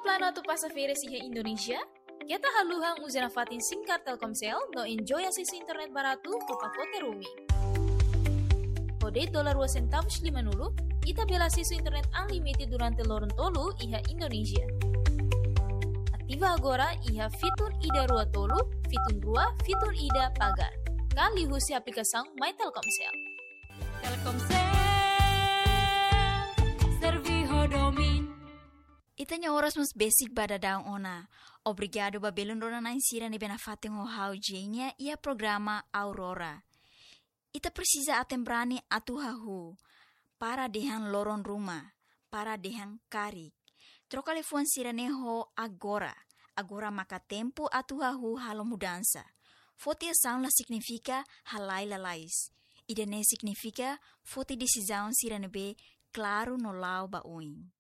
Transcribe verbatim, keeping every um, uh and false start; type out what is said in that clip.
Planu atu pasa férias iha Indonézia? Keta haluha uza nafatin SIM card Telkomsel no enjoy asesu internet baratu ho pakote roaming. Ho de'it dolar rua sentavus limanulu, ita bele asesu internet unlimited durante loron tolu iha Indonézia. Ativa agora iha fitun ida rua tolu, fitun rua, fitun ida pagar. Ka liuhusi aplikasaun My Telkomsel. Telkomsel, servi ho domin. Ita-nia oras mós besik ba daudaun ona. Obrigadu ba belun rona-na'in sira ne'ebé nafatin ho ha'u Jenia iha programa Aurora. Ita presiza aten-brani atu hahú. Para dehan loron ruma, para dehan karik. Troka liafuan sira-ne'e ho agora. Agora maka tempu atu hahú halo mudansa. Foti asaun la signifika halai lalais. Ida-ne'e signifika foti desizaun sira ne'ebé klaru no la'o ba oin.